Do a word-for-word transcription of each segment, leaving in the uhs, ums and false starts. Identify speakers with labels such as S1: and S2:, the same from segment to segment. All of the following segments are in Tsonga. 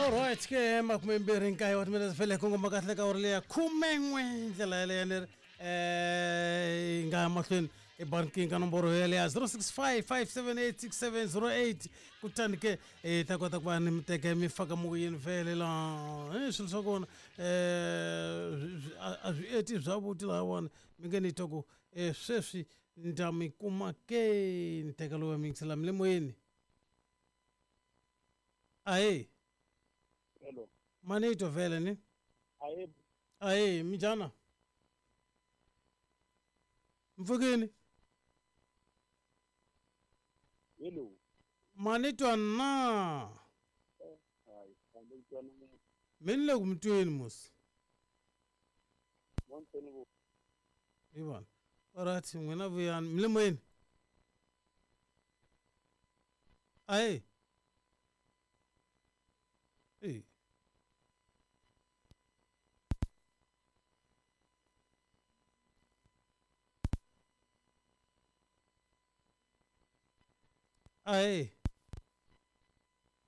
S1: Alright ke makume mbirhi nkaye wa timinete vhele kongoma kahle ka uri leya khume n'we ndlela yaleyo ni ri eh yi nga ya mahlweni ebankini ka nomboro yaleya zero six five five seven eight six seven zero eight kutani ke hi ta kota ku va ni mi teka mi faka moyeni vhele laha eh swilo swa kona eh a swi eti bya vuti lahawani mi nge ni twa ku eh sweswi ni mi kuma ke ni teka lowu mi yingisela mi le moyeni ahee.
S2: Hello.
S1: Manito vele ni?
S2: Aye.
S1: Aye, minjana? Mfukini?
S2: Hello.
S1: Manito na.
S2: Hayi, anditwana.
S1: Mina le kumtweni mos.
S2: Montweni ku.
S1: Ibona. Alright, n'wina vuyani, mi le moyeni? Aye. Hey. Aye.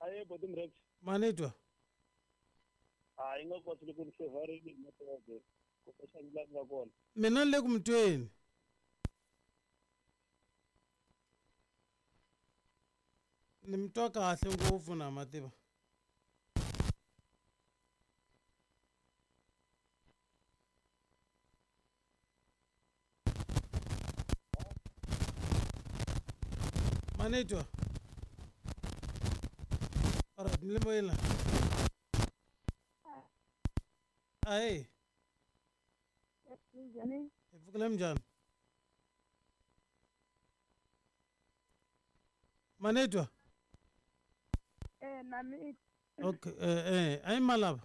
S2: Aye, bottom rex.
S1: Manitwa.
S2: Hayi nga koti ku ni favorini network. Ku xanila nga kona.
S1: Mina le kumtweni. Ni mtwa kahle ngopfu na mativa. Manitwa. Alright, ni le moyeni. Aye.
S3: Minjhani?
S1: Hi pfukile minjhani? Manitwa.
S3: Eh na mi.
S1: Okay, eh eh ayi malava.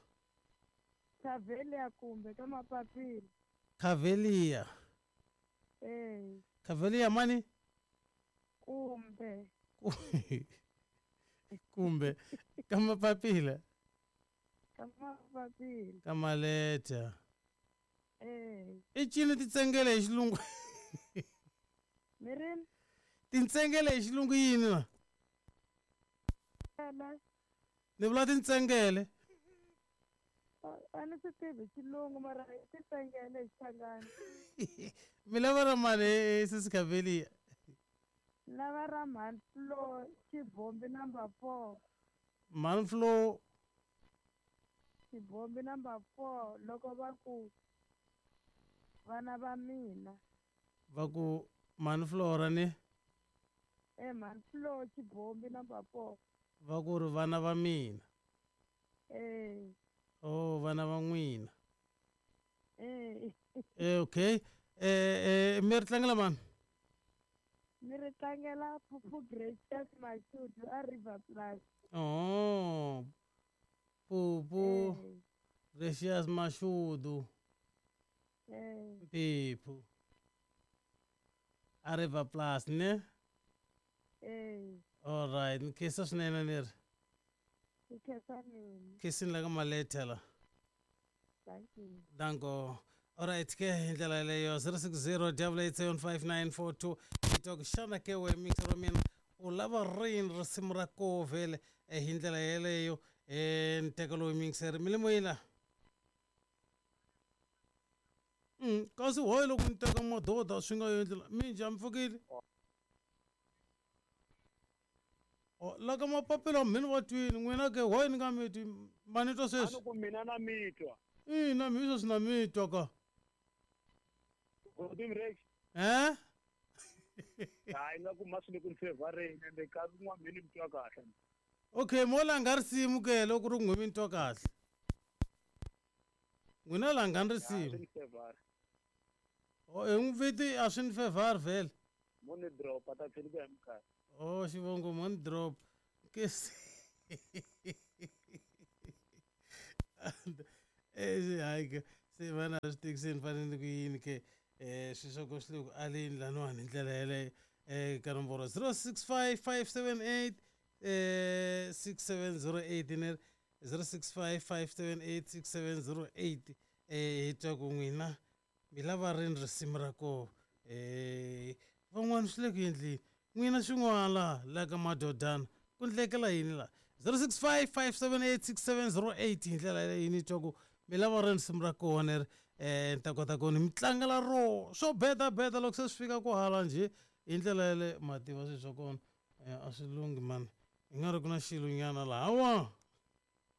S3: Khavelia kumbe ka mapapila.
S1: Khavelia.
S3: Eh.
S1: Khavelia mani?
S3: Kumbe.
S1: Kumbe ka mapapila.
S3: Ka mapapila.
S1: Ka maleta.
S3: Eh.
S1: I cini titsengele hi xilungu.
S3: Mirini?
S1: Tintsengele hi xilungu yini na?
S3: Ela.
S1: Ni vula tintsengele.
S3: A ni swi tivi xilungu mara i titsengele hi Xichangani.
S1: Mi lava ra mani sesi Khavelia?
S3: Lava ra Mhani Flo Xibombi number four.
S1: Mhani Flo
S3: Xibombi number four loko va ku vana va mina.
S1: Va ku Mhani Flora ni?
S3: Eh Mhani Flo Xibombi number four.
S1: Va ku ri vana va mina.
S3: Eh.
S1: Oh vana va n'wina.
S3: Eh.
S1: Eh okay. Eh eh mi ri tlangela mani?
S3: Mi ri tlangela Phuphu Gracious Mashudu a River Plus.
S1: Oh. Phuphu
S3: Eh.
S1: Gracious Mashudu.
S3: Eh.
S1: Phuphu. A River Plus ne?
S3: Eh.
S1: All right, ni khensa swinene ni ri.
S3: Ni khensa mina.
S1: Khensini la ka maleta la.
S3: Thank you.
S1: Danko. All right, ke hi ndlela yeleyo zero six zero double eight seven five nine four two. Twa ku xana ke we mixer wa mina u lava rini risimu ra koho vhele hi ndlela yeleyo eh ni teka lowu mixer mi le moyeni la. Mm, kasi hoyi loko ni teka madoda swi nga endli la minjhani mi pfukile? Oh, la ka mapapila mina va twini n'wina ke hoyi ni nga mi twi ma ni twa sweswi?
S2: A ni ku mina na mi twa.
S1: Ina mi sweswi na mi twa ka.
S2: Bottom rex.
S1: Eh?
S2: Hayi nga ku ma swi le ku ni favorini ende nkarhi wun'wana mi ni mi twa kahle.
S1: Okay, mo langa risimu ke loko ri n'we mi ni twa kahle. N'wina langani risimu. Oh, hi n'wi viti a swi ni favor vhele.
S2: Mo ni drop ta tlhela ku ya minkarhi.
S1: Oh, xivongo mo ni drop. Ke eh hayi ke se vana swi tikiseni ni fanele ku yini ke eh swi swa ku swi le ku aleni laniwani hi ndlela yeleyo eh ka nomboro zero six five five seven eight eh six seven zero eight ni zero six five five seven eight six seven zero eight eh hi twa ku n'wina mi lava rini risimu ra koho eh van'wana swi le ku endleni n'wina swin'wana la la ka madodana ku ndlekela yini la zero six five five seven eight six seven zero eight hi ndlela yaleyo ni twa ku mi lava ri risimu ra kona ri um ni ta kota ku ni mi tlangela ro swo bedabeda loko se swi fika ku hala njhe hi ndlela yale ma tiva swilo swa kona um a swi lunghi mani hi nga ri ku na xilo nyana lahawa.